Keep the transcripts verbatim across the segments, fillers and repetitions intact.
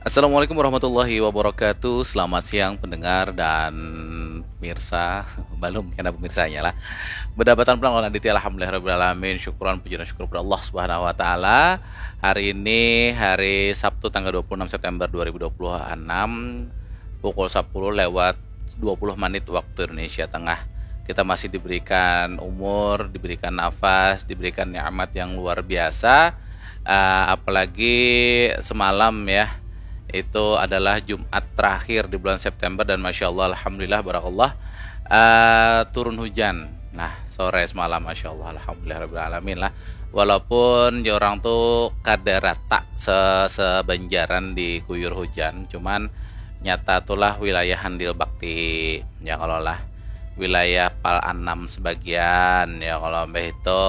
Assalamualaikum warahmatullahi wabarakatuh. Selamat siang pendengar dan pemirsa. Balum kena pemirsanya lah. Bedapatan pulang lawan Aditya, alhamdulillah rabbil alamin. Syukuran puji dan syukur kepada Allah Subhanahu wa taala. Hari ini hari Sabtu tanggal dua puluh enam September dua ribu dua puluh enam, pukul sepuluh lewat dua puluh menit waktu Indonesia Tengah. Kita masih diberikan umur, diberikan nafas, diberikan nikmat yang luar biasa. Ah, apalagi semalam ya, itu adalah Jumat terakhir di bulan September dan masya Allah, alhamdulillah, barakallah, ah, turun hujan. Nah, sore semalam, masya Allah, alhamdulillah rabbil alamin lah. Walaupun ya orang tu kada rata se sebanjaran diguyur hujan, cuman nyata tulah wilayah Handil Bakti, ya kalau lah, wilayah Pal Anam sebagian, ya kalau mbah itu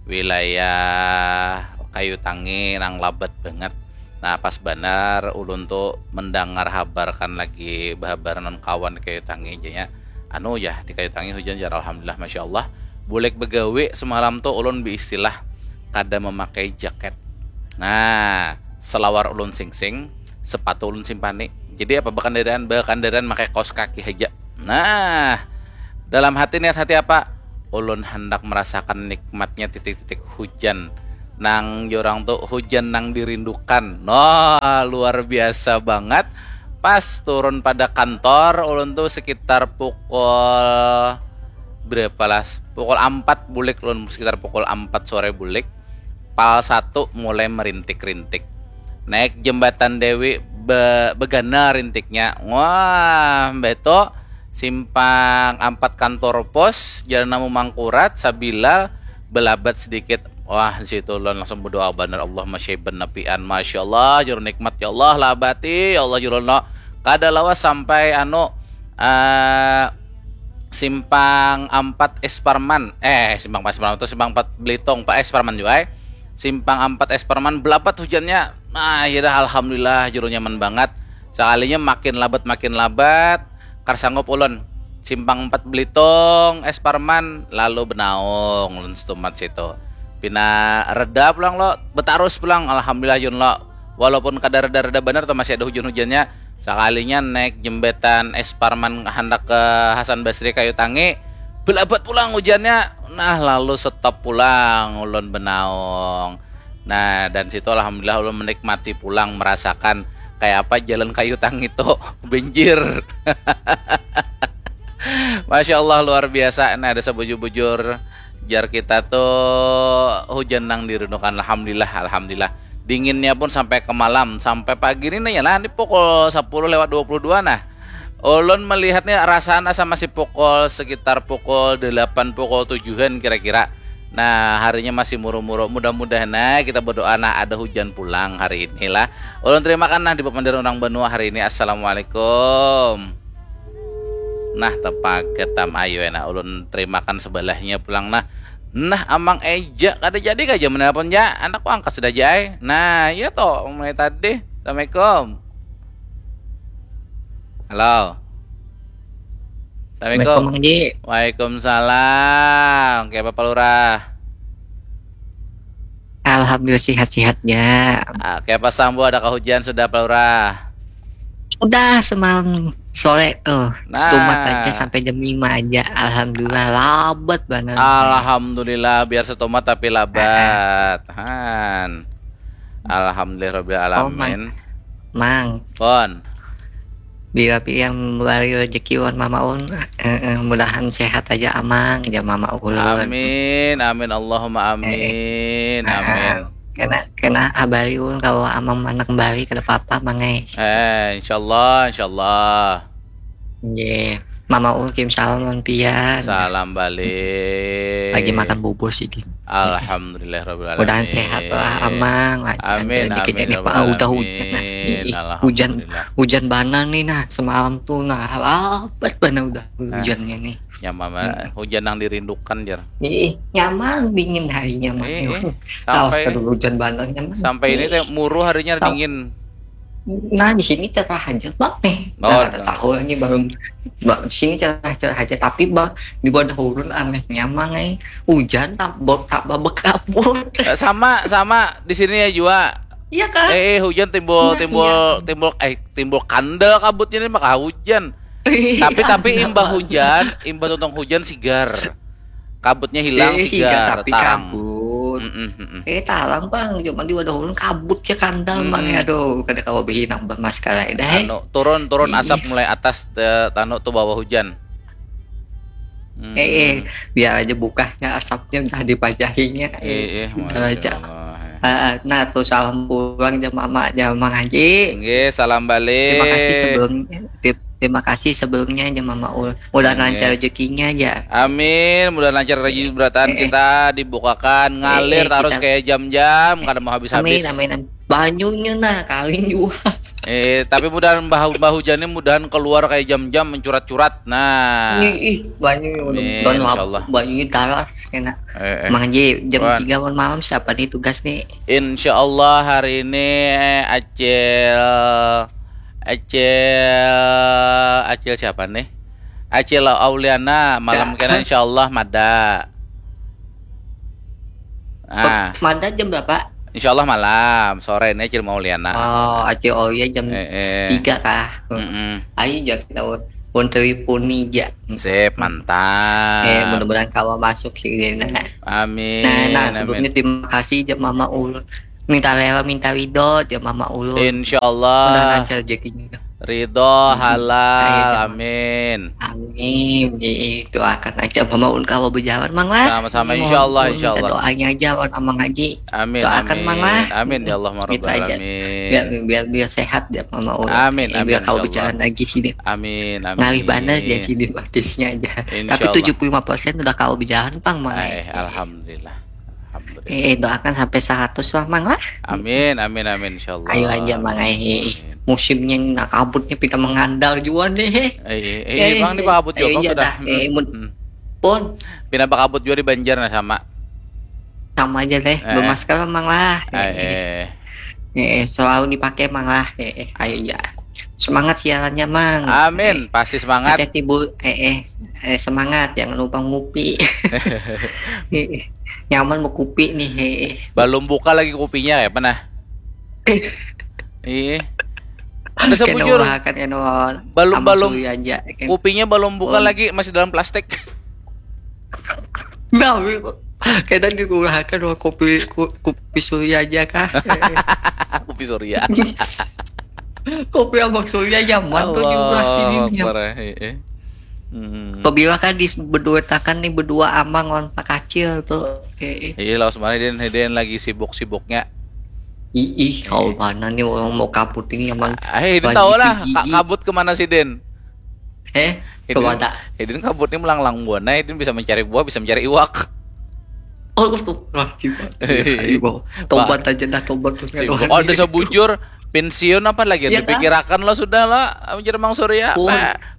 wilayah Kayu Tangi nang labat banget. Nah, pas banar ulun tu mendangar habar kan lagi bahabar non kawan di Kayu Tangi janya. Anu ya, di Kayu Tangi hujan jar, alhamdulillah, masya Allah. Bulik begawi semalam tu ulun biistilah kada memakai jaket. Nah, selawar ulun singsing, sepatu ulun simpani. Jadi apa, bakandaraan, bakandaraan makai kaos kaki haja. Nah, dalam hati, niat hati apa? Ulun handak merasakan nikmatnya titik-titik hujan. Nang jorang tu hujan nang dirindukan. Noh, luar biasa banget. Pas turun pada kantor, ulun tu sekitar pukul berapa lah? Pukul empat bulik ulun, sekitar pukul empat sore bulik. Pal satu mulai merintik-rintik. Naik jembatan Dewi be, begana rintiknya. Wah, mbah tu simpang empat kantor pos, jalan Namu Mangkurat, sabilal belabat sedikit. Wah, di situ ulun langsung berdoa banar, Allahumma syaiban nafian. Masya Allah, juru nikmat, ya Allah, labati, ya Allah, juru no. Kada lawas sampai anu, eh, simpang empat Esparman. Eh, simpang empat Esparman tu simpang empat Belitung, Pak Esparman juga, eh. Simpang empat Esparman belabat hujannya. Nah, ya dah, alhamdulillah, juru nyaman banget. Sekalinya makin labat, makin labat, kar sanggup ulun. Simpang empat Belitung, Esparman, lalu benaung ulun setumat situ. Pina reda pulang lo, betarus pulang, alhamdulillah, Jun, lo. Walaupun kada reda-reda banar tu, masih ada hujan-hujannya. Sakalinya naik jembatan Esparman handak ke Hasan Basri Kayu Tangi, belabat pulang hujannya. Nah, lalu stop pulang ulun benaung. Nah, dan situ alhamdulillah ulun menikmati pulang, merasakan kayak apa jalan Kayu Tangi tu banjir. Masya Allah, luar biasa. Nah, ada sebujur-bujur jar kita tu hujan nang dirindukan. Alhamdulillah, alhamdulillah. Dinginnya pun sampai ke malam, sampai pagi ni, nah, ya lah, ini pukul sepuluh lewat dua puluh dua, nah. Ulun melihatnya rasaan asa masih pukul, sekitar pukul delapan, pukul tujuhan kira-kira. Nah, harinya masih muru-muru. Mudah-mudahan, nah, kita berdoa, nah, ada hujan pulang hari ini lah. Ulun terimakan, nah, di papanderan urang banua hari ini. Assalamualaikum. Nah, tepaget tam ayu, eh, nah, ulun terimakan sebelahnya pulang, nah. Nah, Amang Eja, kada jadi kah ja menelpon ja? Anakku angkat sudah ja, eh. Nah, iya toh, mulai tadi. Assalamualaikum. Halo. Assalamualaikum. Assalamualaikum, Mang Ji. Waalaikumsalam. Kayak apa, Lurah? Alhamdulillah, sihat-sihat ja. Ah, kayak apa, Sambo? Adakah hujan sudah, Pak Lurah? Sudah, semalam sore tuh. Nah. Setumat aja sampai jam lima aja. Alhamdulillah, labat banget. Alhamdulillah, biar setumat tapi labat. Ah. Han. Alhamdulillah rabbil alamin. Oh, Mang. Mang. Pon. Bila pian membari rezeki wan Mama Ulun, eh, eh, mudahan sehat aja, Amang, jar Mama Ulun. Amin, amin, Allahumma amin, eh, eh. Ah, amin. Kena, kena habari ulun kalau Amang mana kembali, kada apa-apa, Mang, eh. Eh, insyaallah, insyaallah. Nggih. Mama Ulun kirim salam lawan pian. Salam balik. Lagi makan bubur sidin. Alhamdulillah rabbil alamin. Mudahan sehat lah, Amang. Amin, amin, amin, ya rabbil alamin. Udah hujan, nah. Ih, ih, hujan, alhamdulillah. Hujan banar nih, nah, semalam tuh, nah, labat banar udah hujannya nih. Nyaman, hmm. Hujan yang dirindukan, jar. Ih, nyaman, dingin harinya mah. Ih, ih. Sampai, sampai ini teh muru harinya dingin. Nah, di sini cerah aja, Bang, eh. Oh, nah, tahu lagi baru, ba-, di sini cerah, cerah aja, tapi ba-, di wadah ulun anehnya, Mang, eh, hujan tak bo-, tak babekabut. Eh, sama, sama di sini ya jua. Iya kah? Eh, eh, hujan timbul, nah, timbul, iya, timbul, eh, timbul kandal kabutnya nih maka hujan. Iya, tapi, tapi imbah hujan, imbah tuntung hujan sigar. Kabutnya hilang, eh, sigar, sigar, tapi tarang. Kabut. Mm-mm, mm-mm. Eh, tarang, Bang. Cuma di wadah ulun kabut ya kandal, mm-mm, Bang. Ya, aduh, kada kawa behinang, Bang, mas kalai dah, eh. Anu, turun, turun, mm-mm, asap mulai atas, eh, tanu tuh bawah hujan. Hmm. Eh, eh, biar aja bukahnya asapnya udah dipajahinya. Eh, eh, eh, masya Allah. Ah, nah, tuh salam pulang jam mama, jam Mang Haji. Nggih, salam balik. Terima kasih sebelumnya. Terima kasih sebelumnya jam mama ul. Mudah lancar rezekinya aja. Amin, mudah lancar rezeki berataan eh, eh, kita dibukakan ngalir eh, eh, terus kita, kayak jam-jam kada mau habis-habis. Amin, amin, amin. Banyunya nah kawin juga. Eh, tapi mudahan bah, bah hujannya mudahan keluar kayak jam-jam mencurat-curat. Nah. Ih, ih, banyu, amin, insyaallah. Banyu taras kena. Eh, eh. Mang Haji, jam tiga malam siapa nih tugas nih? Insyaallah hari ini, eh, Acil, Acil, Acil siapa nih? Acil Auliana malam kena insyaallah mada. Ah. Mada jam berapa? Insyaallah malam, sore ini Acil Mauliana. Oh, Acil Aulia jam eh, eh, tiga kah? Mm-mm. Ayo, ja kita pun teleponi ja. Sip, mantap. Eh, mudah-mudahan kawa masuk sih, Dena. Amin. Nah, nah, amin. Sebelumnya terima kasih ja Mama Ulun. Minta rela, minta ridho ja Mama Ulun. Insyaallah. Mudah lancar rezekinya. Ridho, hmm, halal, amin. Amin. Ih, doakan aja Mama Ulun kawa berjalan, Mang lah. Sama-sama, insyaallah, insyaallah. Doanya aja lawan Amang Haji. Amin, doakan, amin. Mang lah. Amin, ya Allah, ya Rabbal alamin. Biar, biar, biar sehat ya Mama Ulun. Amin, amin, biar kawa berjalan lagi sini. Amin, amin. Ngalih banar ya sini batisnya aja. Tapi tujuh puluh lima persen udah kawa berjalan, Pang, Mang. Eh, alhamdulillah. Alhamdulillah. Eh, doakan sampai seratus lah, Mang lah. Amin, amin, amin, insyaallah. Ayo aja, Mang, eh. Amin. Musimnya ini, nah, kabutnya pina mengandal jua nih, eh. Eh, eh, eh, Bang, ini kabut juga, eh, Bang, iya sudah. Dah, eh, hmm. Pun. Pina bakabut juga di Banjar, nah, sama. Sama aja deh, eh, bermasker, Mang lah. Eh, eh. Eh, eh, selalu dipakai, Mang lah. Eh, eh, ayo ya. Semangat siarannya, Mang. Amin, eh, pasti semangat. Hati-hati, Bu. Eh, eh, eh, semangat, jangan lupa ngopi. Eh, eh. Nyaman mau kopi nih. Eh, eh. Belum buka lagi kopinya ya, pernah? Iya. Ada sebujur. Belum, belum. Kopinya belum buka lagi, masih dalam plastik. Nah, kena dikurahkan wah kopi, ku-, kopi Surya aja kah? Kopi Surya. Kopi Abang Surya nyaman tuh di belah sini. Allahu Akbar, eh, eh. Hmm. Pabila kan di berdua takan nih berdua Amang lawan Pak Kacil tuh. Eh, eh. Iya, lawas mana Din, Din lagi sibuk-sibuknya. Ih, ih, kau mana nih orang mau kabut ini Amang. Eh, Din tahu lah, kabut kemana sih Din? Eh, kemana? Hidin kabut ni melanglang buana, Hidin bisa mencari buah, bisa mencari iwak. Oh, astagfirullahaladzim. Tobat aja dah, tobat. Ada sebujur pensiun apa lagi? Iya, dipikirakan lah sudah lah, mencari Mang Surya.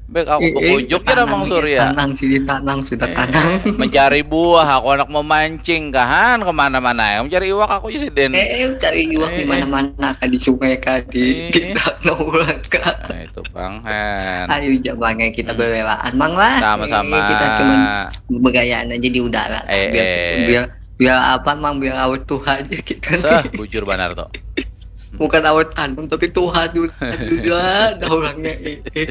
Bek aku eh, eh, bekunjuk kira Mang Surya. Tenang sih, tenang, sudah tenang. Mencari buah, aku anak memancing, kahan kemana-mana ya. Mencari iwak aku ya, Sidin. Eh, eh, cari iwak di mana-mana, kah di sungai, kah di kita nongkrong, kah. Nah, itu, Bang. Ayo, jangan kita berelaan, Mang lah. Sama-sama. Eh, kita cuma begayaan aja di udara. Eh, biar, eh, biar, biar apa, Mang? Biar awet tuha aja kita. Seh, bujur banar tuh. Bukan awet tanam, tapi tuha juga, juga ada orangnya. Eh, eh.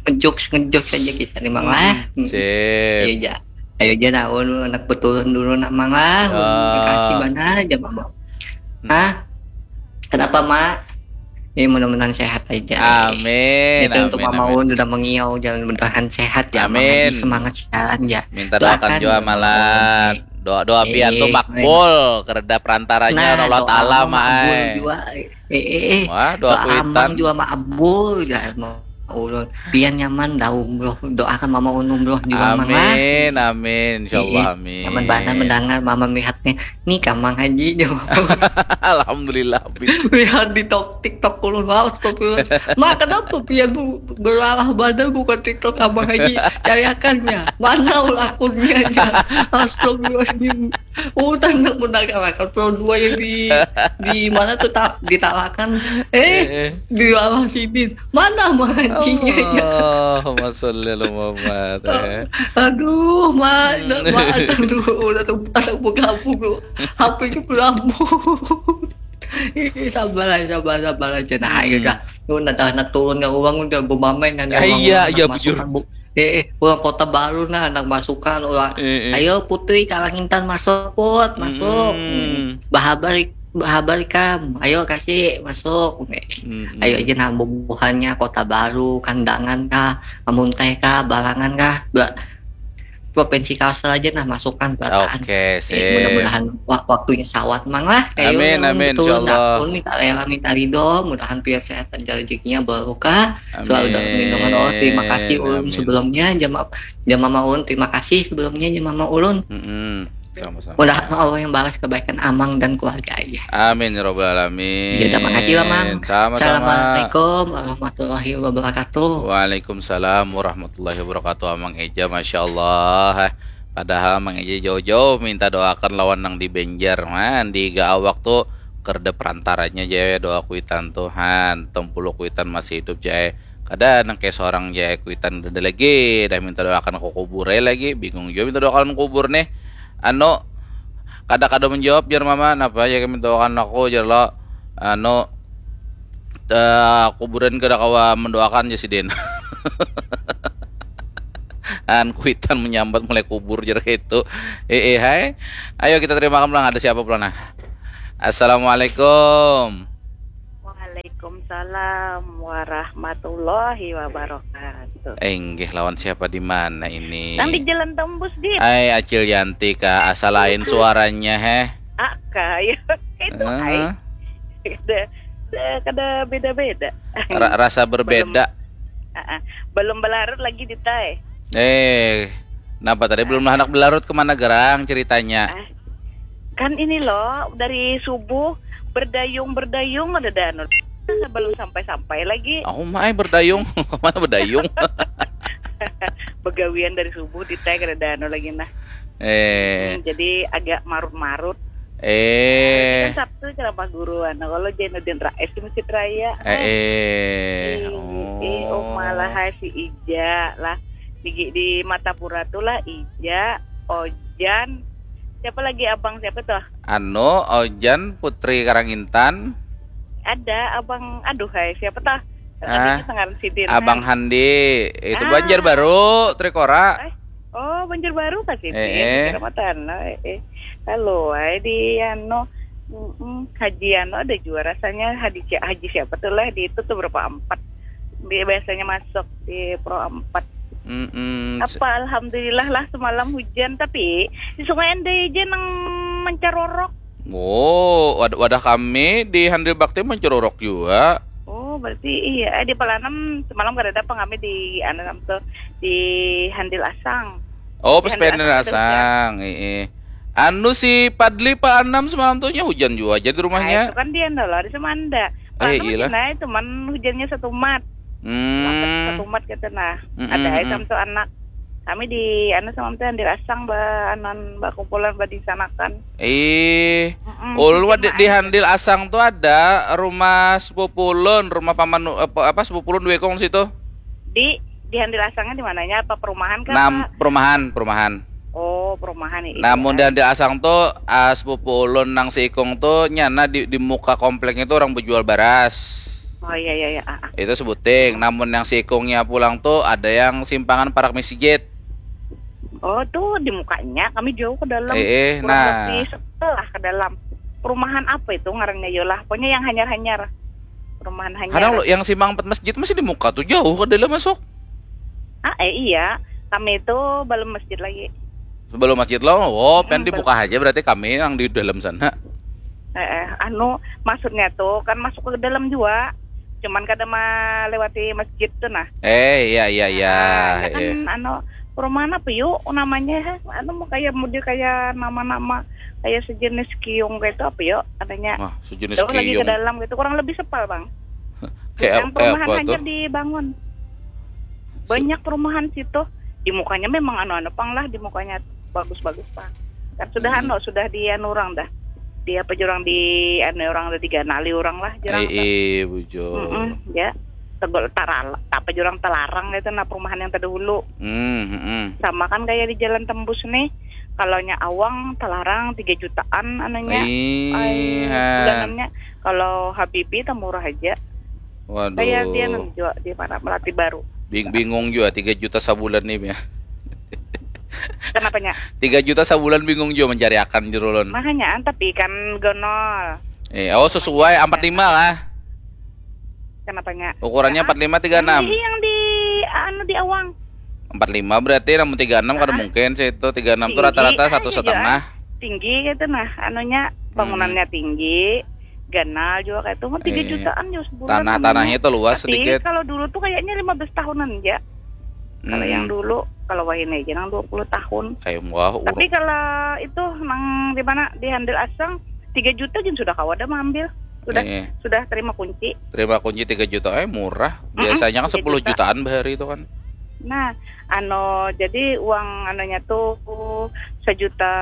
Ngejokes, ngejokes aja kita nih, Mang lah. Hmm, sip. Iya, ja. Ayo ja, nah, ulun anak beturun dulu, nah, Mang lah. Ya. Makasih banar aja, Mang. Hmm. Hah? Kenapa, Mak? Ini mudah-mudahan sehat aja. Amin. Itu untuk Mama Ulun udah mengiau, jangan mudahan sehat ya, Mang. Amin. Semangat siaran ya. Minta doakan juga, Malat. Doa-doa pian tuh makbul, kereda perantaranya Allah Taala, Mak. Nah, doa makbul juga. Eh, eh, eh. Wah, doa kuitan juga makbul, ya, ulun. Pian nyaman dah umroh, doakan Mama Ulun umroh juga, Mang lah. Amin, amin. Insyaallah, amin. Nyaman banar mendengar Mama melihatnya. Nih, Kang Mang Haji, jawab. Alhamdulillah, Bib. Lihat di tok-, TikTok ulun, wah, astagfirullah. Ma, kenapa pian bu-, berarah badan buka TikTok Abang Haji? Cariakannya. Mana ul akunnya, ya? Astagfirullahaladzim. Oh, tanda mendengarkan Pro dua ya di, di mana tuh, ta-, ditalakan. Eh, eh, eh. Di bawah sini. Mana mengajinya, ya? Allahumma sholli ala Muhammad, eh. Aduh, Ma, Ma, aduh, udah tuh, ada buka-buka. H P-nya berambut. Ih, sabar aja, sabar, sabar aja. Nah, ayo Hmm. dah. Lu ada anak turun ke uang udah bumamai nanya Ah, uang iya, anak iya, masukan, bujur. Bu. Eh, eh, uang kota baru nah, anak masukan uang. Eh, eh. Ayo Putri Kalangintan masuk, Put, masuk. Mm-mm. Bahabar, bahabar ikam. Ayo kasih masuk. Mm-mm. Ayo aja nah bubuhannya kota baru, kandangan kah, amun teh kah, barangan kah, ba- provinsi Kalsel aja nah masukan berataan. Oke, Eh, sip. mudah-mudahan wa- waktunya sawat mang lah. Kayak Amin, yang amin, betul insyaallah. Dak. Ulun minta rela, minta ridho, mudahan pian sehat dan rezekinya barokah. Selalu dalam lindungan Allah. Terima kasih Amin, ulun amin. Sebelumnya jama jama mama ulun, terima kasih sebelumnya jama mama ulun. Mm-mm. Sama-sama. Mudahan Allah yang balas kebaikan Amang dan keluarga ya. Amin ya robbal alamin. Ya, terima kasih lah, Mang. Sama-sama. Assalamualaikum warahmatullahi wabarakatuh. Waalaikumsalam warahmatullahi wabarakatuh, Amang Eja, masya Allah. Padahal Amang Eja jauh-jauh minta doakan lawan nang di Banjar, man di ga awak tu kerda perantaranya ja doa kuitan tuh, han, tempulu kuitan masih hidup ja. Kada nang kayak seorang ja kuitan ada lagi dah minta doakan ke kubur ai lagi, bingung juga minta doakan kubur nih. Anu, kada kada menjawab jar mama, napa ya minta doakan aku jar lo. Anu, eh, kuburan kada kawa mendoakan ja sidin. An kuitan menyambat mulai kubur jar itu. Eh, eh, hai. Ayo kita terima pulang, ada siapa pulang nah. Assalamualaikum. Waalaikumsalam warahmatullahi wabarakatuh. Eh, inggih, lawan siapa di mana ini? Nang di Jalan Tembus, Dit. Ai, Acil Yanti kah, asa lain suaranya heh. Ah, kaya itu ai. Heeh. Kada, kada, kada beda-beda. Ra- rasa berbeda. Ah, ah. Belum belarut lagi, Dit ai. Eh, kenapa tadi belum handak belarut, kemana gerang ceritanya? Ah, kan ini loh, dari subuh berdayung-berdayung ada dah anu. Belum sampai-sampai lagi. Aku mah ai berdayung, kemana berdayung? Begawian dari subuh, Dit ai, kada ada anu lagi nah. Eh, Hmm, jadi agak marut-marut. eh, Kan Sabtu ceramah guru, anu, kalau Jainuddin Rais di Masjid Raya. eh, eh, Ih, ih, oh, malah hai si Ija lah. Di, di Martapura tuh lah Ija, Ojan, siapa lagi abang siapa tuh? Anu, Ojan, Putri Karangintan, Ada abang, aduh hai, siapa tuh? Ah, Ngaran sidin. Abang Handi, itu Ah. Banjarbaru, Trikora. Eh, oh, Banjarbaru kah sidin? Eh, eh. Kira mata anu, eh, eh. Halo, ai di anu, mm, Haji anu ada juga rasanya Haji, Haji siapa tuh lah di itu tuh berapa empat. Bi- biasanya masuk di Pro empat. Mm-mm. Apa alhamdulillah lah semalam hujan, tapi di Sungai Andai aja nang mencarorok. Oh, wad- wadah kami di Handil Bakti mencarorok juga. Oh, berarti iya. Eh, di Pelanam semalam kada ada apa kami di anu tuh di Handil Asang. Oh, Di pas Handil Handil Asang ada Asang, iya. Anu si Padli Pak Anam semalam tuh nya hujan juga aja di Nah, rumahnya. Itu kan dia dah lah, ada sama anda. Eh, Pelanam iyalah. Nah, cuman hujannya satu mat. Hmm. Satu mat gitu nah. Mm-mm, Ada ai mm. Samsul anak. Kami di anu sama tuh Handil Asang ba anuan ba kumpulan ba di sanakan. Eh, Mm-mm, ulun hujan wah di, lah, di eh. Handil Asang tuh ada rumah sepupu ulun, rumah paman apa, apa sepupu ulun dua ikung situ. Di di Handil Asangnya di mananya, apa perumahan kah? Nam, Apa? Perumahan, perumahan. Oh, perumahan ya. Namun di Handil Asang tuh ah, sepupu ulun nang seikung tuh nyana di, di muka kompleknya tuh orang berjual baras. Oh iya iya iya. Ah, ah. Itu sebuting. Namun yang seikungnya pulang tuh ada yang simpangan parak masjid. Oh, tuh di mukanya kami jauh ke dalam. Eh, eh, Kurang nah. Lebih setelah ke dalam. Perumahan apa itu ngarannya yolah? Pokoknya yang hanyar-hanyar. Perumahan hanyar. Kadang lo yang simpang empat masjid masih di muka tuh jauh ke dalam masuk. Ah, eh iya. Kami itu belum masjid lagi. Sebelum masjid lo, oh, pen Mm, dibuka aja berarti kami yang di dalam sana. Eh, eh, anu, maksudnya tuh kan masuk ke dalam juga. Cuman kada melewati masjid tuh nah. Eh, iya iya iya. Ah, ya kan Eh. Anu, perumahan apa yuk namanya? Anu mau kayak model kayak nama-nama kayak sejenis kiung kayak itu apa yuk katanya? Wah, sejenis Jauh lagi ke kiung. Dalam gitu, kurang lebih sepal bang. Kayak Yang kayak perumahan apa tuh? Hanyar dibangun. Banyak perumahan situ. Di mukanya memang anu-anu pang lah, di mukanya bagus-bagus pang. Kan sudah Hmm. anu, sudah di anu orang dah. Di apa jurang di anu orang dah diganali orang lah jurang Eh, dah. eh, bujur. Mm-mm, ya. Tegol taral, apa jurang telarang itu nah perumahan yang terdahulu. Hmm, hmm, hmm. Sama kan kayak di Jalan Tembus nih, Kalau nya awang talarang tiga jutaan anunya. Ih, Ai, ha. Bulanannya. Kalau Habibi tah murah aja. Waduh. Kayak dia nang jual di mana, Melati Baru. Bing- bingung juga tiga juta sabulan nih ya. Kenapanya? Tiga juta sabulan bingung juga mencari akan jerulon. Makanya tapi kan gonol. Eh, oh sesuai empat lima lah. Kenapanya? Ukurannya empat lima tiga enam. Yang di anu di awang. Empat lima berarti namun tiga enam kada mungkin sih itu. Tiga enam tuh rata-rata satu setengah. Tinggi gitu nah, anunya bangunannya tinggi, ganal juga kayak itu mah tiga Iya. Jutaan ya sebulan. Tanah Namanya. Tanahnya tuh luas Tapi sedikit. Kalau dulu tuh kayaknya lima belas tahunan ya. Kalau Hmm. Yang dulu, kalau wahini aja nang dua puluh tahun. Kayak wah Tapi kalau itu nang di mana di Handil Asang tiga juta gin sudah kawa ada mengambil. Sudah Iya. Sudah terima kunci. Terima kunci tiga juta, eh murah. Biasanya kan Tiga sepuluh juta. Jutaan bahari itu kan. Nah, ano jadi uang anunya tuh sejuta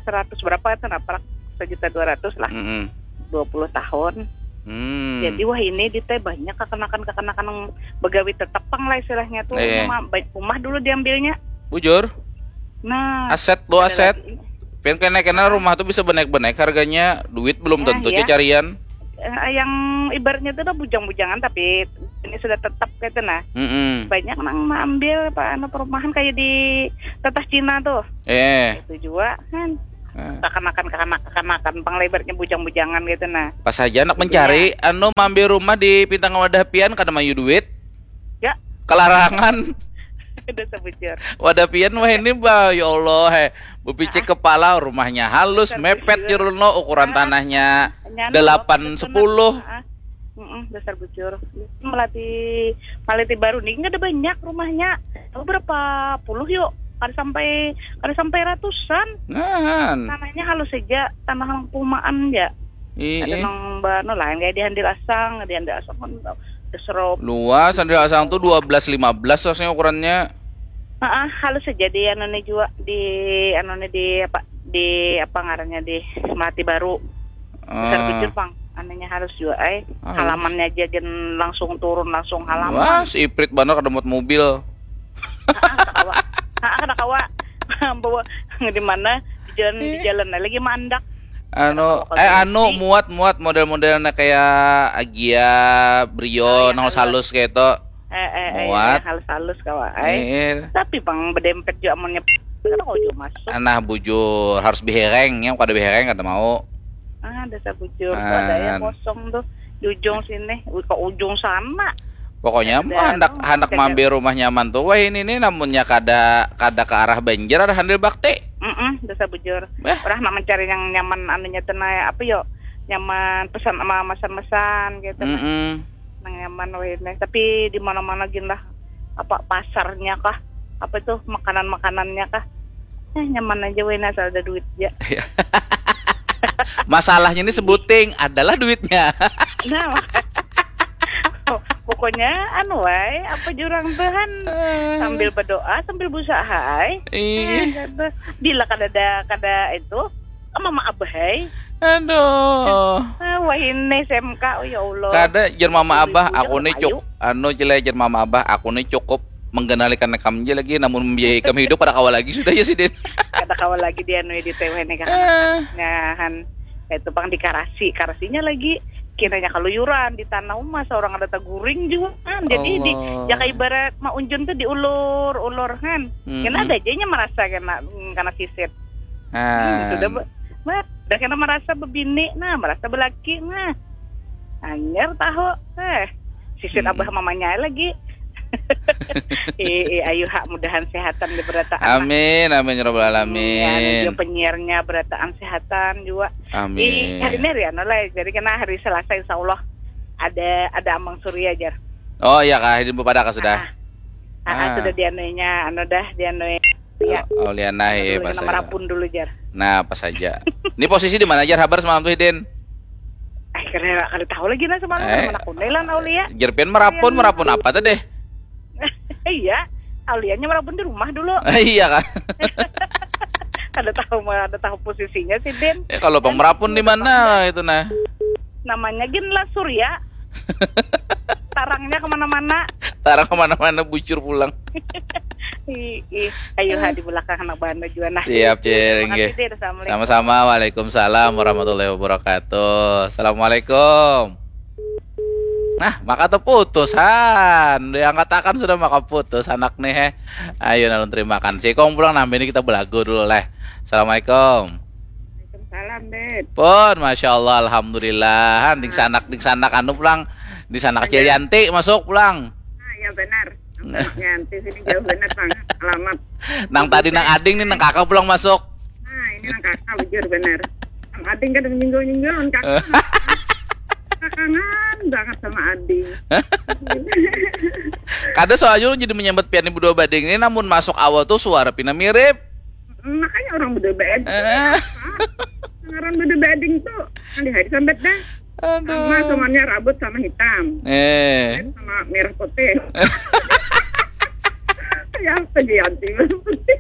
seratus berapa itu nah, prak sejuta dua ratus lah, Mm-mm. dua puluh tahun. Hmm. Jadi wah ini di teh banyak kekanakan-kekanakan yang begawi tetepang lah istilahnya tuh. Iya. Rumah, baik rumah dulu diambilnya. Bujur, Nah, aset lo ada aset. lagi. Pian kena kena rumah tuh bisa benaik-benaik harganya, duit belum Nah, tentu iya. carian. Eh, yang ibaratnya tuh udah bujang-bujangan tapi ini sudah tetap gitu nah. Mm-mm. Banyak nang mengambil apa anu perumahan kayak di teteh Cina tuh. Eh, Itu juga kan eh. Kekanakan-kekanakan pang lah ibaratnya bujang-bujangan gitu nah. Pas aja anak mencari anu mampir rumah di Pintang Wadah pian kada mayu duit. Ya, Kelarangan. Udah sebujur. Wadah pian wah ini bah ya Allah he. Bepicik kepala, rumahnya halus, mepet jero lo, ukuran tanahnya Nyana delapan waktu itu sepuluh. nah, ah, mm-mm, dasar bujur. Melati Melati Baru nih nggak ada banyak rumahnya. Tahu berapa puluh yuk? Kada sampai kada sampai ratusan. Nah, Tanahnya halus saja, tanah pumaan ya. Ada iya. Nang bano lain kayak di Handil Asang, di Handil Asang kan udah serop. Luas, Handil Asang tuh dua belas lima belas rasanya ukurannya. Heeh, halus saja di anu nih juga di anu nih di apa di apa ngarannya di Melati Baru. Besar Ah. Bujur pang, anunya halus juga ay. Halus. Halamannya aja gin langsung turun langsung halaman. Wah, si Iprit banar kada muat mobil. Ah, kada kawa. Ah, kada kawa. Bawa di mana di jalan di jalan lagi mandak. Anu, Kalau eh kalau anu di- muat muat model-modelnya kayak Agia, Brio, Oh, yang nang halus. Halus kayak itu. Eh eh eh Muat. Halus-halus kawa ay. Eh, Tapi pang bedempet juga amunnya kada mau juga masuk. Nah bujur harus bihereng, yang kada bihereng kada mau. Ah, dasar bujur tuh ada yang Kan. Kosong tuh di ujung sini, ke ujung sana. Pokoknya Ada mah hendak anu, hendak jaga- mampir rumah nyaman tuh. Wah ini nih namunnya kada kada ke arah banjir ada Handil Bakti. Mm-mm, dasar bujur. Eh. Orang nak mencari yang nyaman anunya tuh nah, apa yo? Nyaman pesan sama mesan-mesan gitu. Mm-mm. Nang nyaman weh nih. Tapi di mana-mana gin lah apa pasarnya kah? Apa tuh makanan-makanannya kah? Eh, nyaman aja weh nih, asal ada duit aja. Masalahnya ini sebuting adalah duitnya. Nah, pokoknya anu wae apa jurang Tuhan sambil berdoa sambil berusaha ay. Iya. Eh, kata, bila kada ada kada itu mama abah ay. Aduh. Ah, wah ini S M K, oh ya Allah. Kada jer mama abah, Ibu-ibu aku nih jangan cuk anu jelai jer mama abah, aku nih cukup menggenalikan kam aja lagi, namun membiayai kami hidup pada kawa lagi sudah ya sidin. Kada kawa lagi dia anu di T W nih kan. Eh, Nah, han itu pang di karasi, karasinya lagi kiranya kaluyuran di tanah uma seorang ada taguring juga kan. Jadi di Allah. jaka ibarat maunjun tuh diulur-ulur kan. Mm-mm. Kena ada aja nya merasa kena kena sisit. Nah, Sudah be- bah, dah kena merasa bebini, nah merasa belaki, nah anyar tahu, eh sisit Mm-mm. Abah mamanya lagi. Ih, ih, ayu hak mudahan sehatan di berataan. Amin, amin ya rabbal Ya, alamin. juga penyiarnya berataan sehatan juga. Amin. Ih, hari ini hari anu lah, jadi kena hari Selasa insya Allah ada ada Amang Surya aja. Oh iya kah, hidin bepada kah sudah? Ah, ah, Ah. Sudah dianuinya, anu dah dianui. Ya. Oh, Auliana ya Dulu pas kena aja. Merapun dulu jar. Nah, pas aja. Ini posisi di mana aja habar semalam tuh Hidin? Eh kena kada tahu lagi nah semalam Eh. Mana kunai lah Aulia. Jer pian merapun, merapun apa tuh deh? Iya, Aulianya merapun di rumah dulu. Iya kan? Kada tahu mah, kada tahu posisinya sih Din. Ya kalau pang merapun di mana itu nah? Namanya gin lah Surya. Tarangnya kemana-mana. Tarang kemana-mana bucur pulang. Ih, ayo ha di belakang anak banda jua nah. Siap, Cil, inggih. Sama-sama. Waalaikumsalam warahmatullahi wabarakatuh. Assalamualaikum. Nah, maka terputus han. Diangkatakan sudah maka putus anak nih, he. Ayo, nalun terima kasih. Kong pulang, nah, ini kita belagu dulu leh. Assalamualaikum. Waalaikumsalam, Ded. Pun, masya Allah, alhamdulillah. Han, ding sanak, ding sanak anu pulang. Di sanak Cil Yanti masuk pulang. Ah, ya benar. Yang sini jauh banget, Bang. Alamat. Nang tadi nang ading nih, nang kakak pulang masuk. Nah, ini nang kakak, bujur benar. Nang ading kada menyinggol-nyinggol, nang kakak. Kakangan banget sama ading. Kada, soalnya ulun jadi menyambat pian ibu dua bading ini, namun masuk awal tuh suara pina mirip. Makanya orang berdua bading. Eh. Ngaran berdua bading tuh, yang di hari sambat dah. Aduh. Sama, semuanya rambut sama hitam. Eh. Sama merah putih. Ya, apa dia anti merah putih?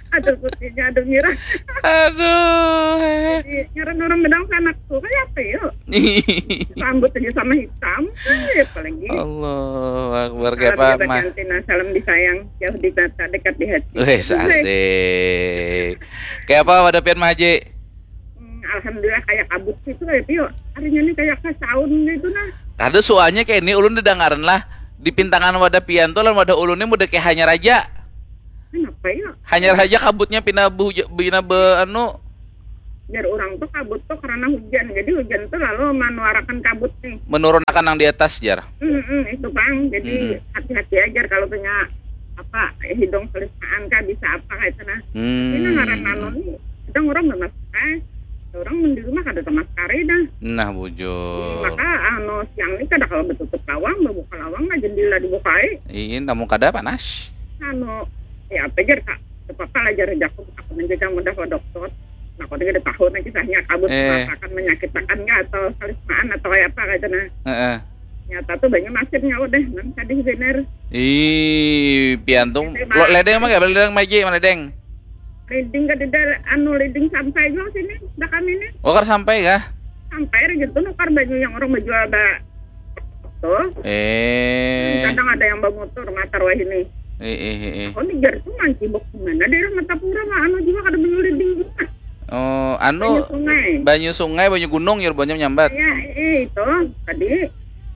Ada putihnya, ada merah. Aduh. Jadi, ngaran orang bedang sanak tuh, kayak apa yuk? Rambut aja sama hitam, eh, apalagi. Allahu Akbar. Salam Kayak apa, jabat Mah? Antina, salam disayang, jauh di mata, dekat di hati. Wih, asik. Kayak apa wadah pian, Mah Haji? Hmm, alhamdulillah, kayak kabut gitu, kayak Tio. Harinya nih kayak ke sound gitu nah. Kada, soalnya kayak ini ulun didangaran lah. Di pintangan wadah pian tuh lan wadah ulun ini mudah kayak hanyar aja. Kenapa ya? Hanyar aja kabutnya pina behuja-, pina be anu, Biar orang tuh kabut tuh karena hujan. Jadi hujan tuh lalu menuarakan kabut nih. Menurunakan yang di atas, jar. Hmm, hmm, itu, Bang. Jadi Hmm. hati-hati aja kalau punya apa, hidung selisaan kah, bisa apa kayak itu nah. Hmm. Ini ngaran anu nih, kadang orang nggak masuk, eh, orang di rumah kada sama sekali dah. Nah, bujur. Maka anu, siang ini kada kalau betutup lawang, membuka lawang lah, jendela dibukai. Iin, namun kada panas. Anu, ya apa jar, Kak? Apa lah jar, jaku aku menjaga mudah ke dokter. Nah, aku tidak tahu nah kisahnya, kabut Eh. merasakan menyakitakan kah atau selisaan atau kayak apa kayak itu nah. Heeh. Nyata tuh banyak nasibnya udah, nang sadih bener. Ih, pian tuh Itu, lo Bang. Ledeng mah, ledeng Maji, mana, Deng? Leading ke tidak, anu, leading sampai juga sini, dah kami nih. Oh, kada sampai kah? Sampai aja tuh nukar banyu yang orang menjual ba tuh. Eh. Kadang ada yang bermotor matar wah ini. Eh, eh, eh, eh. Aku nih jar tuh mancibok gimana daerah Martapura mah, anu juga kada banyu leading juga. Oh, anu, Banyu sungai. Banyu sungai, banyu gunung, ya, banyu nyambat. Ya, eh, itu tadi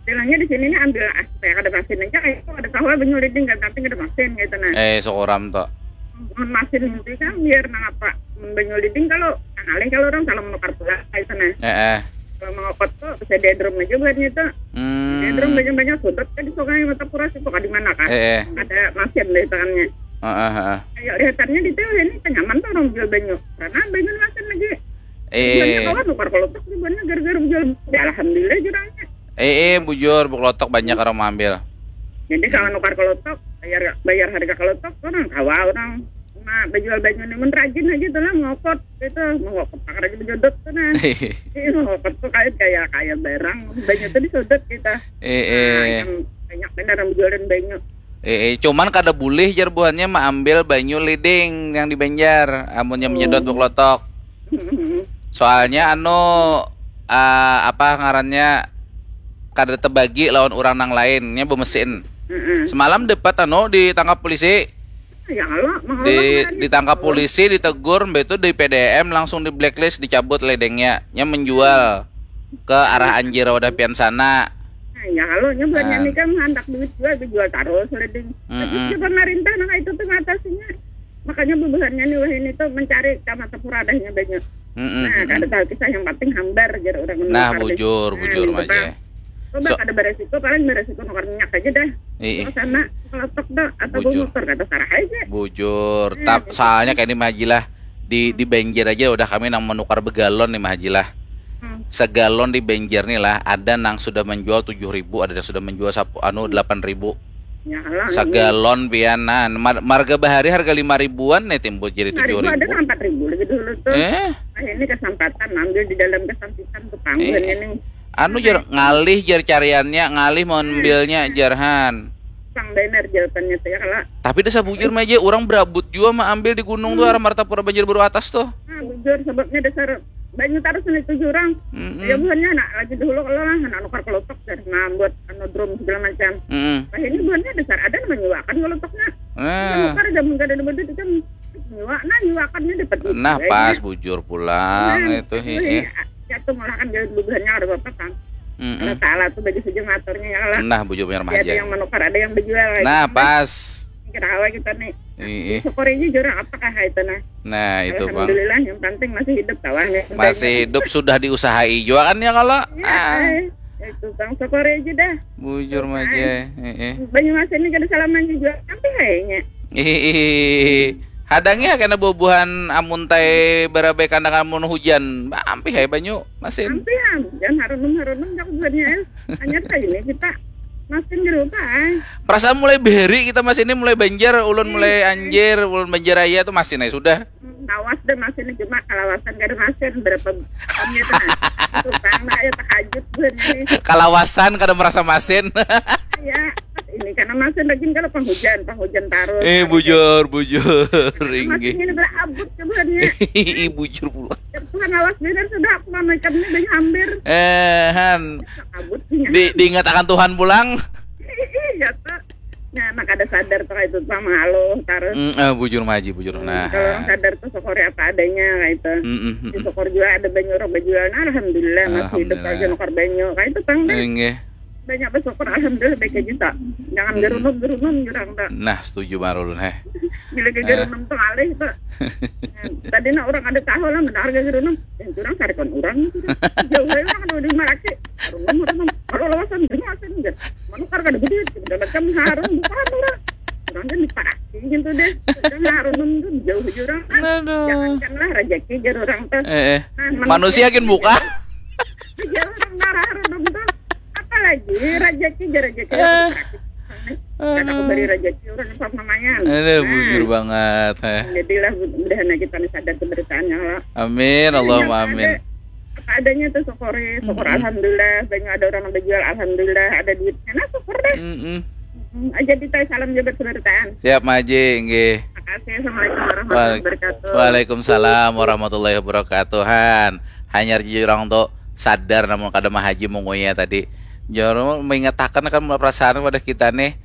bilangnya di sini nih ambil ah, supaya kada masin aja, kayak itu ada tahu banyu leading kan, tapi kada masin gitu nah. Eh, syukuram tuh. Mun masin nanti kan biar nang apa, mun banyu leading kalau ngalih kalau orang salah menukar pula kayak itu nah. Eh, eh. Kalau mengokot tuh bisa diedrum aja buatnya tuh. Hmm. Diedrum banyak-banyak sudut kan di sungai Martapura situ, di mana kah? Eh, eh. Ada masin deh tangannya. Heeh, heeh. Kayak lihatannya di teh ini kenyaman tuh orang jual banyu. Karena banyu masin lagi. Eh. Jualnya kawan nukar kelotok sih, buatnya gara-gara jual. Ya, alhamdulillah jurangnya. Eh, eh, bujur, buklotok banyak orang mengambil. Jadi kalau nukar kelotok, bayar bayar harga kelotok, orang kawa orang cuma berjual banyu nih, mun rajin aja tuh lah ngokot gitu, mengokot pakar aja berjodot tuh nah. Iya, ngokot tuh kayak kayak kayak barang, banyu tuh disodot gitu. Eh, Nah, eh. Yang banyak benar yang berjualan banyu. Eh, eh, cuman kada boleh jar buhannya maambil banyu leading yang di Banjar, amunnya menyedot buklotok. Soalnya anu, ah, apa ngarannya, kada tebagi lawan urang nang lainnya bemesin. Heeh. Semalam dapat anu ditangkap polisi. Ya kalau mau Di ngarannya. Ditangkap polisi, ditegur, mbak itu di P D M langsung di blacklist, dicabut ledengnya, nya menjual ke arah Anjir wadah pian sana. Nah, ya kalau nya buatnya Ah. Nih kan handak duit juga dijual terus leading. Tapi Mm-mm. si pemerintah nah itu tuh ngatasinya. Makanya bubuhannya nih wah ini tuh mencari ke Martapura adanya banyu. Mm-mm, Nah, mm-mm. Kada tahu kisah, yang penting hambar jar orang Nah, menukar deh. bujur, Nah, bujur, gitu, Maje. Pak. Coba So- kada beresiko, paling beresiko nukar minyak aja dah. Ih, ih. Ke sana, kelotok dah, atau Bujur. Motor kada sarah aja. Bujur. Iya, Tap, gitu. Soalnya kayak ini Maji lah, di di Banjar aja udah kami nang menukar begalon nih, Mah Haji lah. Hmm. Segalon di Banjar nih lah, ada nang sudah menjual tujuh ribu, ada yang sudah menjual sapu anu delapan ribu. Ya lah. Segalon pian nah, mar- marga bahari harga lima ribuan nih timbul jadi Lima ribu tujuh ada ribu. Empat ribu lagi dulu tuh. Eh, Nah, ini kesempatan ambil di dalam kesempitan tuh panggung Eh. ini. Anu jar ngalih jar cariannya, ngalih mau ambilnya jarhan. Sang bener jawabannya tuh ya kalau Tapi dasar bujur Maje, orang berabut jua mah ambil di gunung tuh, arah Martapura Banjarbaru atas tuh. Nah, bujur, sebabnya dasar banyu terus nih tuh jurang. Mm-mm. Ya buhannya nak lagi dulu kalau lah nak nukar kelotok jar, nah buat anu drum segala macam. Mm-mm. Nah ini buhannya dasar ada nang menyuakan kelotoknya. Nah, Nukar jaman kada ada badut ikam nyiwa, nah nyiwakannya dapat duit nah juga, pas ya. Bujur pulang Nah, itu itu hi. ya, jatuh malahan kada bubuhannya kada apa-apa kan. Mm-mm. Allah Taala tuh bagi saja ngaturnya ya lah. Nah, Bujur punya rumah Ada aja. Yang menukar, ada yang berjual. Nah, Kan? pas. Kira awal kita nih. Ih, Syukuri aja jurang apakah itu nah. Nah, itu bang. Alhamdulillah, yang penting masih hidup kawan. Masih hidup sudah diusahai juga kan ya kalau. Iya, Ah, eh. Itu bang, syukuri aja dah. Bujur maja. Heeh. Banyumas ini kada salamanya juga, tapi kayaknya. Ih, hadangi ya kena bubuhan amun tai barabai kandangan mun hujan. Ampih hai banyu masin. Ampih am, jangan harunum harunum jak buhannya. Hanya saja ini kita masin di rumah. Ay. Perasaan mulai bahari kita masin ini mulai banjar, ulun mulai anjir, ulun banjar raya tuh masin ai sudah. Lawas deh masin ini, cuma kalawasan kada masin berapa tahunnya tuh. Tukang lah ya takajut buhannya nih. Kalawasan kada merasa masin. Ya, ini karena masin lagi kalau penghujan, penghujan tarus. Eh bujur bujur Masin inggih. Ini berabut ke buhannya. Ih, bujur pula. Tuhan awas bener sudah aku mamaikan ini banyak hampir. Eh han, Abut punya. Di diingatakan Tuhan pulang. Iya tuh. Nah, anak ada sadar tuh itu tuh mengaluh terus. Mm, eh, bujur maji bujur. Nah. Kalau orang sadar tuh syukuri apa adanya kayak itu. Mm, mm, mm, mm. Syukur juga ada banyu orang berjual. Nah, alhamdulillah masih hidup Alhamdulillah. Aja nukar banyu. Kayak itu bang deh. Inggih. Banyak bersyukur alhamdulillah baik aja tak. Jangan gerunum-gerunum jurang tak. Nah, setuju marulun heh. Bila ke gerunum tuh alih tak. Tadi nak orang ada tahu lah mendengar ke gerunum. Yang jurang sarikan orang itu. Jauh aja orang ada di Maraki. Gerunum gerunum. Kalau lawasan gerunum asin enggak. Menukar kada gede. Dapat kan harum bukan orang. Orang kan di Maraki gitu deh. Kan harunum tuh jauh jurang kan. Aduh. Jangankanlah rezeki jar orang tuh. Eh, eh. Nah, Manusia gin buka. Iya orang marah orang tuh. Apalagi rezeki jar rezeki. Eh. Kan aku beri rezeki orang pas namanya. Ada bujur banget. Eh. Jadilah mudahan kita nih sadar keberitaannya lah. Amin, Allahumma amin. Apa adanya tuh syukuri, syukur alhamdulillah, banyak ada orang yang berjual, alhamdulillah, ada duitnya, nah syukur deh. Mm-mm. Hmm, aja kita salam jabat keberitahan. Siap maji, inggih. Makasih, assalamualaikum warahmatullahi wabarakatuh. Waalaikumsalam warahmatullahi wabarakatuh. Han, hanyar jurang tuh sadar namun kada mahaji munguya tadi. Jurang mengatakan kan perasaan pada kita nih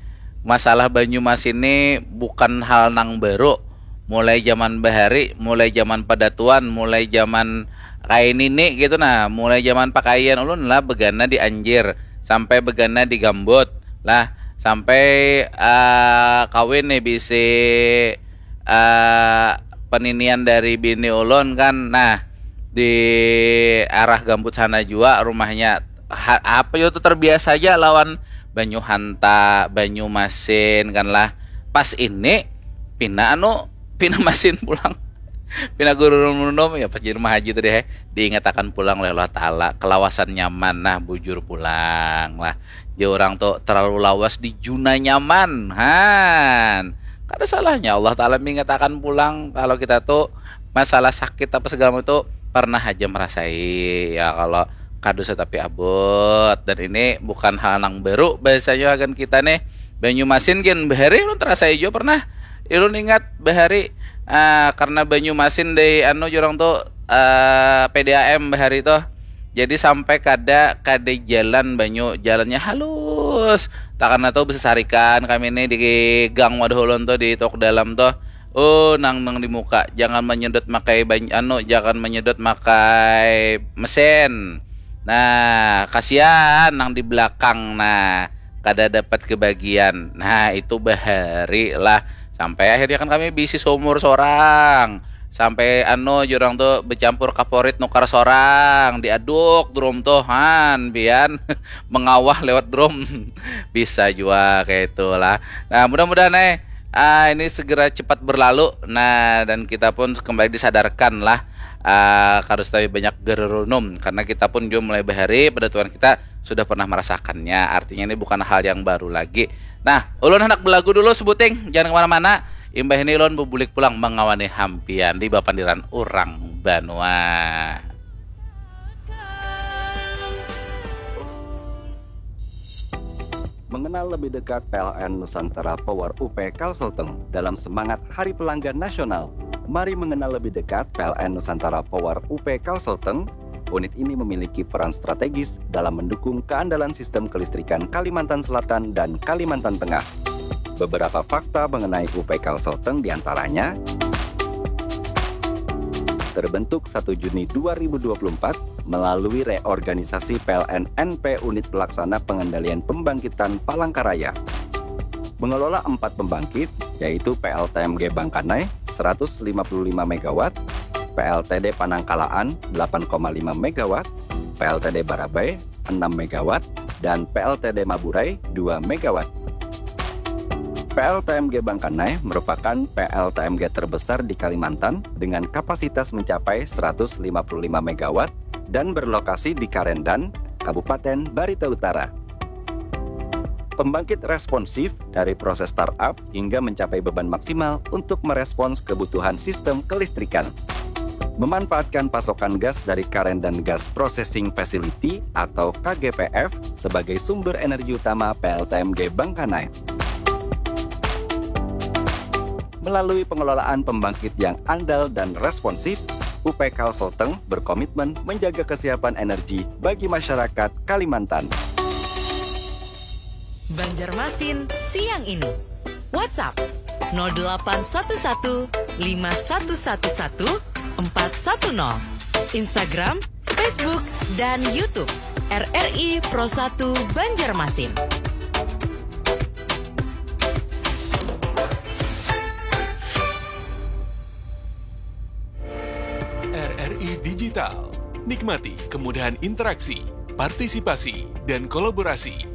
masalah Banyumas ini bukan hal nang baru. Mulai zaman bahari, mulai zaman padatuan, mulai zaman kain ini gitu nah, mulai zaman pakaian ulun lah begana di anjir sampai begana di gambut lah sampai uh, kawin nih bisi uh, peninian dari bini ulun kan nah di arah gambut sana juga rumahnya ha, apa itu terbiasa aja lawan banyu hanta banyu masin kan lah pas ini pina anu pina masin pulang pina guru nunum ya pas jadi rumah haji tadi heh diingatakan pulang oleh Allah Taala kelawasan nyaman nah bujur pulang lah ya orang tuh terlalu lawas di juna nyaman han kada salahnya Allah Taala mengatakan pulang kalau kita tuh masalah sakit apa segala itu pernah aja merasai ya kalau kadus tapi abot dan ini bukan hal nang baru bahasanya akan kita nih Banyumasin gin bahari ulun terasa ijo pernah ulun ingat bahari uh, karena Banyumasin dari anu jurang tuh uh, P D A M bahari tuh jadi sampai kada kada jalan banyu jalannya halus tak karena tuh besesarikan kami ini di gang wadah ulun tuh di tok dalam tuh oh nang nang di muka jangan menyedot makai banyu anu jangan menyedot makai mesin nah kasihan nang di belakang nah kada dapat kebagian nah itu bahari lah sampai akhirnya kan kami bisi sumur sorang sampai anu jurang tuh bercampur kaporit nukar sorang diaduk drum tuh han pian mengawah lewat drum bisa jua kayak itulah nah mudah-mudahan eh ah, ini segera cepat berlalu nah dan kita pun kembali disadarkan lah ah, harus tapi banyak gerunum karena kita pun juga mulai bahari pada tuan kita sudah pernah merasakannya artinya ini bukan hal yang baru lagi nah ulun hendak belagu dulu sebuting jangan kemana-mana imbah ini ulun bubulik pulang mengawani hampian di bapandiran urang banua Mengenal lebih dekat P L N Nusantara Power U P Kalselteng dalam semangat Hari Pelanggan Nasional. Mari mengenal lebih dekat P L N Nusantara Power U P Kalselteng. Unit ini memiliki peran strategis dalam mendukung keandalan sistem kelistrikan Kalimantan Selatan dan Kalimantan Tengah. Beberapa fakta mengenai U P Kalsel Teng diantaranya, terbentuk satu Juni dua ribu dua puluh empat melalui reorganisasi P L N N P Unit Pelaksana Pengendalian Pembangkitan Palangkaraya. Mengelola empat pembangkit, yaitu P L T M G Bangkanai seratus lima puluh lima megawatt, P L T D Panangkalaan delapan koma lima megawatt, P L T D Barabai enam megawatt, dan P L T D Maburai dua megawatt. P L T M G Bangkanai merupakan P L T M G terbesar di Kalimantan dengan kapasitas mencapai seratus lima puluh lima megawatt dan berlokasi di Karendan, Kabupaten Barito Utara. Pembangkit responsif dari proses startup hingga mencapai beban maksimal untuk merespons kebutuhan sistem kelistrikan. Memanfaatkan pasokan gas dari Karendan Gas Processing Facility atau K G P F sebagai sumber energi utama P L T M G Bangkanai. Melalui pengelolaan pembangkit yang andal dan responsif, U P Kalsel Teng berkomitmen menjaga kesiapan energi bagi masyarakat Kalimantan. Banjarmasin siang ini. WhatsApp nol delapan satu satu lima satu satu satu empat satu nol. Instagram, Facebook, dan YouTube R R I Pro satu Banjarmasin. R R I Digital. Nikmati kemudahan interaksi, partisipasi, dan kolaborasi